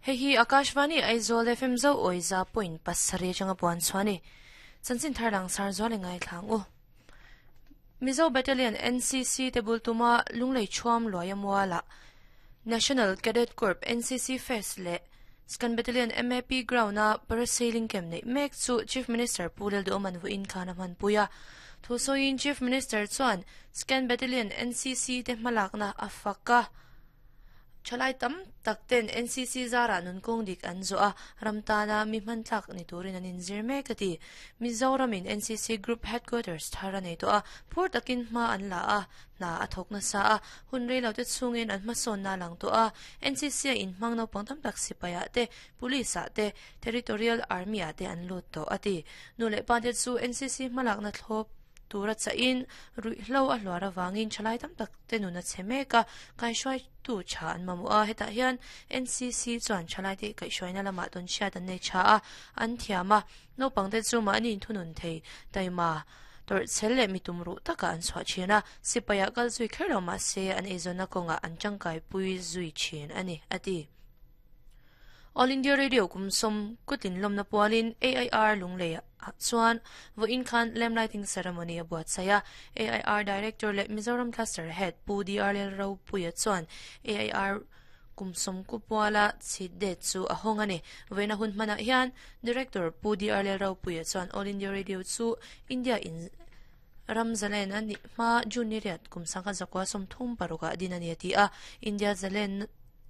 Hei hi Akashvani Aizawl FM zo awiza point pasarih atanga puan chhuah a ni. Chanchin thar lang sar zual i ngaithla ang u. Mizo Battalion NCC te bul tuma Lunglei Thuam Luaia Mualah National Cadet Corps NCC Fest leh Skan Battalion MAP Ground-a Parasailing Camp neih mek chu Chief Minister Pu Lalduhawman vawiin khan a hmanpui a. Thusawiin Chief Minister chuan Skan Battalion NCC te hmalakna a fak a. Thalai tam tak ten NCC zarah nunkawng dik an zawh a, ram tana mi hmantlak ni turin an inzir mek a ti. Mizoramin NCC Group Headquarters thar a nei tawh a, phur takin hma an la a, hna a thawk nasa a, hun rei lo te chhungin an hmasawnna a lang tawh a. NCC a inhmang naupang tam tak sipaiah te, Police ah te, Territorial Army ah te an lut tawh a ti. Nu leh pa te chu NCC hmalakna thlawp tura chahin ruihhlo a hluar avangin thalai tam tak te nun a chhe mek a, kaihruaitu tha an mamawh a, hetah hian NCC chuan thalaite kaihhruaina lamah tawn hriat an nei tha a, an thiam a, naupangte chu mahni inthunun thei taima tawrhchhel leh mi tumruh takah an chhuah thin a, sipaiah kal zui kher lo mahse an eizawnna kawngah an tangkaipui zui thin a ni, a ti. All India Radio kum sawm kutin lawmna pualin AIR Lunglei ah chuan vawiin khan Lamp Lighting Ceremony a buatsaih a. AIR Director leh Mizoram Cluster Head Pu DR Lalropuia chuan AIR kum sawm ku puala chhit det chu a hawng a ni. Vawiina hun hmanah hian Director Pu DR Lalropuia chuan All India Radio chu India in ram zalen a nih hma June ni riat kum sangkhat zakua 36 ah din a ni a ti a. India zalen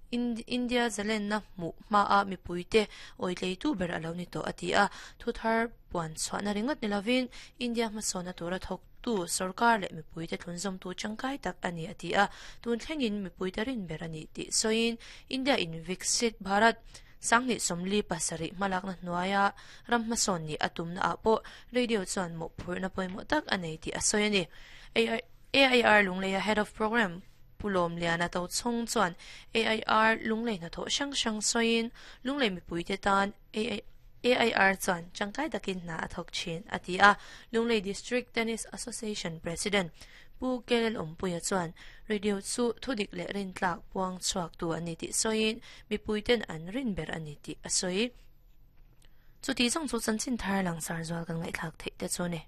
India zalenna hmuh hmaa mipuite awitleitu ber a lo ni tawh a ti a, thuthar puan chhuahna ringawt ni lovin India hmasawnna tura thawktu sorkar leh mipuite thlunzawmtu tangkai tak a ni a ti a, tun thlengin mipuite rin ber a ni tih sawiin India in Viksit Bharat 2047 hmalakna hnuaia ram hmasawn nih a tumna ah pawh radio chuan mawhphurhna pawimawh tak a nei tih a sawi a ni. AIR Lungleia Head of Programme Pu Lawmliana Tochhawng chuan AIR Lunglei hnathawh hrang hrang sawiin Lunglei mipuite tan AIR chuan tangkai takin hna a thawk thin a ti a. Lunglei District Tennis Association President Pu Kelel Awmpuia chuan radio chu thudik leh rintlak puang chhuaktu a ni tih sawiin mipuiten an rin ber a ni tih a sawi. Chuti zawng chu chanchin thar langsar zual kan ngaihthlak theih te chu a ni.